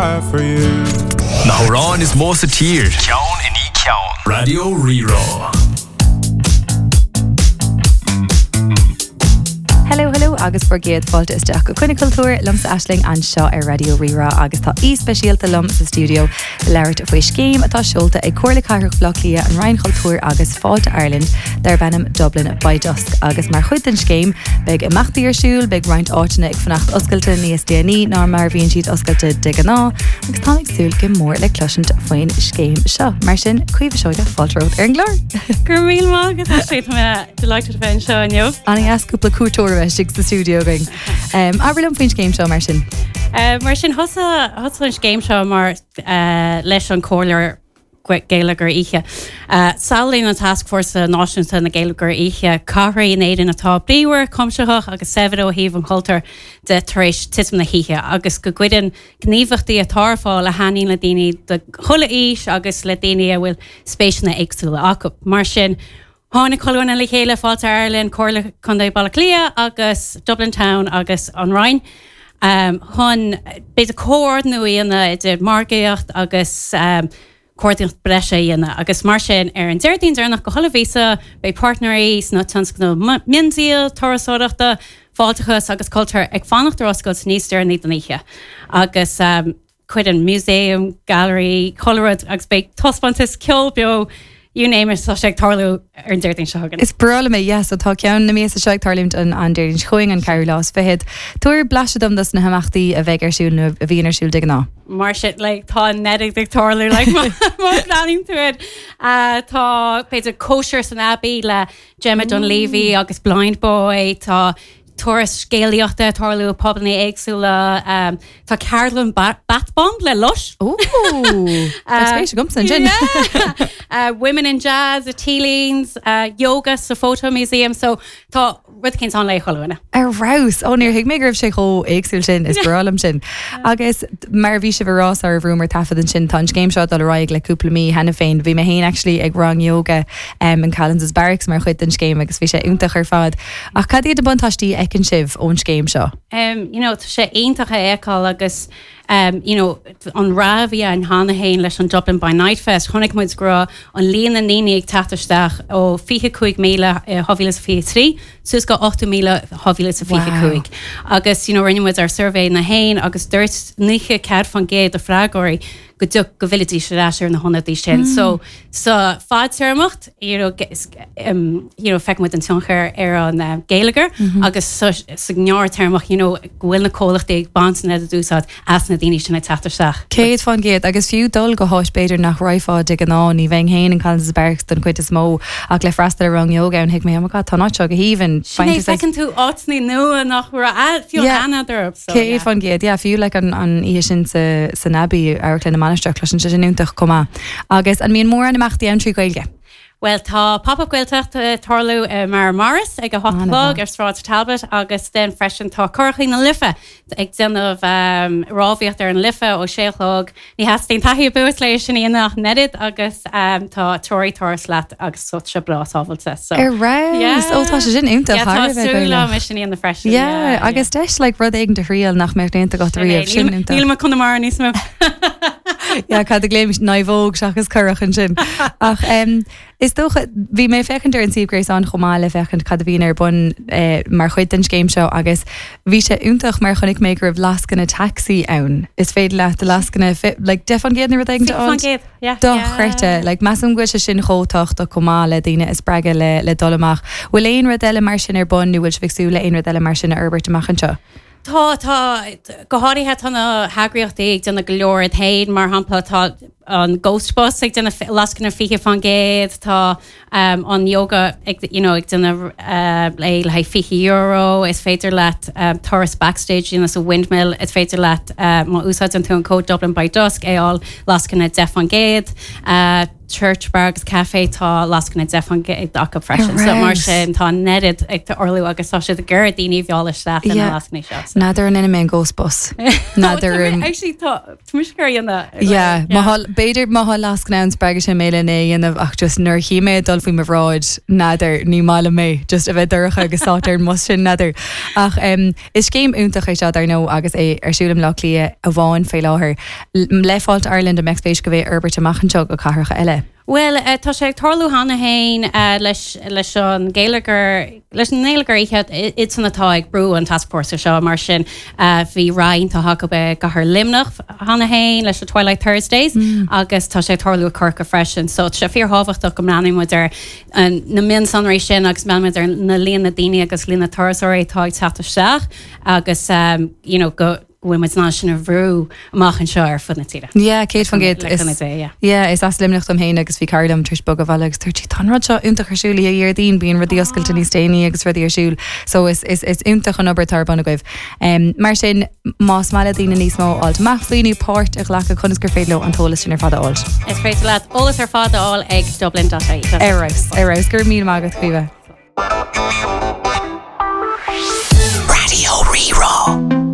Na hamhráin is mó sa tír. Ceann i ndiaidh ceann. Raidió Rí-Rá. Hello, hello agus bhur gcéad fáilte isteach go Coinne Cultúir liomsa Aisling anseo ar Raidió Rí-Rá agus tá aoi speisialta liom sa stiúideo le labhairt faoi scéim atá seolta ag Comhairle Cathrach Bhaile Átha Cliath, an Roinn Chultúir agus Fáilte Ireland darb ainm Dublin by Dusk agus mar chuid den scéim beidh imeachtaí ar siúl, beidh roinnt áiteanna ag fanacht oscailte níos déanaí ná mar a bhíonn siad oscailte de ghnáth agus táim ag súil go mór le cloisint faoin scéim seo. Mar sin, Caoimhe Seoige, fáilte romhat ar an gclár! Go raibh míle maith agat Aisling, tá mé delighted a bheith anseo inniu. An-dheas cúpla cuairteoir a bheith istigh sa stiúideo againn. Abair liom faoin scéim seo mar sin. Mar sin thosaigh an scéim seo mar leis an Comhairleoir Geilleagar Oíche. Samhlaíonn an Tascfhórsa Náisiúnta na Geilleagar Oíche cathair in Éirinn atá bríomhar, cuimsitheach agus saibhir ó thaobh an chultúir de tar éis titim na hoíche agus go gcuireann gníomhaíochtaí atá ar fáil a thaitníonn le daoine de chuile aois agus le daoine a bhfuil spéiseanna éagsúla acu. Mar sin, Tháinig chuile dhuine le chéile, Fáilte Ireland, Comhairle Contae Bhaile Átha Cliath agus Dublin Town agus an Roinn, chun b'fhéidir comhordnú a dhéanamh idir margaíocht agus comhordaíocht breise a dhéanamh. Agus mar sin, ar an Déardaoin deireanach de chuile mhíosa, beidh páirtnéirí sna tionscnaimh miondíol, turasóireachta, fáilteachas agus cultúir ag fanacht ar oscailt níos deireanaí den oíche. Agus. Cuireann museum, gallery, chuile rud agus beidh taispeántas ceol beo, you name it, tá sé ag tarlú ar an Déardaoin seo chugainn. Is breá liom é, yeah, so tá ceann na míosa seo ag tarlúint an an Déardaoin seo chugainn, an ceathrú lá is fichead. Tabhair blaiseadh dom dos na himeachtaí a bheidh ar siúl nó a bhíonn ar siúl de ghnáth. Mar sin, like, tá an oiread ag tarlú, like, má bhreathnaíonn tú air. Tá, b'fhéidir, cóisir san Abbey le Gemma Dunleavy agus Blindboy, tá turas scéalaíochta ag tarlú i bpubanna éagsúla. Tá ceardlann Bath Bomb le Lush. Ooh! Tá spéis agamsa ansin. Yeah! Women in Jazz, i Teelins, yoga sa Photo Museum. So tá rud éicint ann le chuile dhuine. Ar fheabhas! Ó, níor thuig mé go raibh sé chomh éagsúil sin. Is breá liom sin. Agus mar a bhí sibh a rá sara bhrúamar taifead ansin, tá an scéim seo ag dul ar aghaidh le cúpla mí cheana féin. Bhí mé féin actually ag rang yoga in Collins's Barracks mar chuid den scéim agus bhí sé iontach ar fad. Ach cad iad na buntáistí a fheiceann sibh ón scéim seo? You know, tá sé iontach a fheiceáil agus you know, an rath a bhí ann cheana féin leis an Dublin by Night Fest, chonaic muid go raibh an líon na ndaoine ag teacht isteach ó 25,000 i 2023 suas go 80,000 2025. Agus you know, rinne muid ár suirbhéanna féin agus dúirt 94% de freagróirí go dtiocfadh, go bhfillfidís ar ais ar na hionadaí sin. So, sa fadtéarmacht, you know, you know, feiceann muid an tionchar ar an geilleagar agus sa ngearrthéarmach, you know, go bhfuil na comhlachtaí ag baint an oiread úsáid as na daoine sin ag teacht isteach. 100% agus fiú dul go háit b'fhéidir nach raghfá de ghnáth, ní bheinn féin in Collins's Barracks don chuid is mó ach le freastal ar rang ióga ann thuig mé, oh my god, tá an áit seo go haoibhinn. Sin é, feiceann tú áiteanna nua nach raibh fiú aithne agat orthu. So, yeah. 100%, yeah, fiú like an an oíche sin sa san Abbey, Amharclann na Mainistreach, cloiseann sé sin iontach chomh maith. Agus an mbíonn mórán imeachtaí ann trí Ghaeilge? Bhuel, tá Pop Up Gaeltacht ag tarlú i mBarra Morris ag a hocht a chlog ar Sráid Talbot agus then freisin tá Curachaí na Life ag déanamh rámhaíocht ar an Life ó sé a chlog. Ní theastaíonn taithí ar bith uait le sin a dhéanamh ach an oiread agus tá treoraí turas leat agus tá sé breá sábháilte. So, Ar fheabhas! Ó tá sé sin iontach Yeah, thar tá a bheith súil Gaelach. agam é sin a dhéanamh freisin. Yeah, Yeah, agus deis like rud éigin a thriail nach mbeadh déanta agat Sin é. riamh. Sin Níl iontach. nílim i Conamara níos mó. Yeah, cad a ghlaoimis naomhóg seachas curach ansin. Ach em, is dócha, bhí mé ag féachaint ar an suíomh gréasáin chomh maith le féachaint cad a bhíonn ar bun eh, mar chuid den scéim seo agus bhí sé iontach mar chonaic mé go raibh lascaine tacsaí ann. Is féidir leat do lascaine fi- like 10% nó rud éigin a fháil? 5%. Yeah. Dochreidte. Like, measaim go bhfuil sé sin chomh tábhachtach chomh maith le daoine a spreagadh le, le dul amach. Bhfuil aon rud eile mar sin ar bun nó bhfuil sibh ag súil le aon rud eile mar sin a fhorbairt amach anseo? Tá, tá, go háirithe tá na heagraíochtaí ag déanamh go leor iad féin, mar shampla tá an Ghost Bus ag déanamh lascaine 20%, tá an yoga ag, you know, ag déanamh é le haghaidh €20, is féidir leat turas backstage a dhéanamh sa Windmill, is féidir leat má úsáideann tú an cód Dublin by Dusk é a fháil lascaine 10%. Church Bar agus Café tá lascaine 10% acu freisin. So mar sin tá an oiread ag tarlú agus tá siad ag iarraidh daoine a mhealladh isteach le na lascainí seo. N'fheadar an ndearna mé an Ghost Bus. N'fheadar an. Actually tá Tá mise ag iarraidh a dhéanamh. Yeah, má. b'fhéidir má tá lascaine ann spreagfaidh sé mé lena é a dhéanamh ach just nuair a chím é ag dul faoi mo bhráid, n'fheadar, ní maith liom é, just a bheith dorcha agus sáite ar an mbus sin, n'fheadar. Ach em, is scéim iontach é seo dar ndóigh agus é ar siúl i mBleá Cliath amháin faoi láthair. Le Fáilte Ireland an mbeadh spéis agaibh é a fhorbairt amach anseo go cathracha eile? Bhuel, tá sé ag tarlú cheana féin leis leis an geilleagar, leis an ngeilleagar oíche, iadsan atá ag brú an tascfhórsa seo, mar sin bhí rath iontach acu i gcathair Luimneach cheana féin leis na Twilight Thursdays agus tá sé ag tarlú i Corcaigh freisin. So tá sé fíorthábhachtach go mbreathnaíonn muid ar na mionsonraí sin agus mbreathnaíonn muid ar na líon na daoine agus líon na turasóirí atá ag teacht isteach agus you know go go bhfuil muid in ann sin a bhrú amach anseo ar fud na tíre. Yeah, 100%. Le cúnamh Dé, yeah. Yeah, is as Luimneach dom féin agus bhí cara liom tar éis bogadh abhaile agus dúirt sí, tá an rud seo iontach ar siúl oíche Dhéardaoin, bíonn rudaí oscailte níos déanaí agus rudaí ar siúl. So is, is, is iontach an obair atá ar bun agaibh. Um, mar sin, más maith le daoine níos mó a fháilt amach faoi nó páirt a ghlacadh conas gur féidir leo an t-eolas sin ar fad a fháilt? Is féidir leat eolas ar fad a fháil ag dublin.ie. Ar fheabhas, ar fheabhas, go raibh míle maith agat, Caoimhe.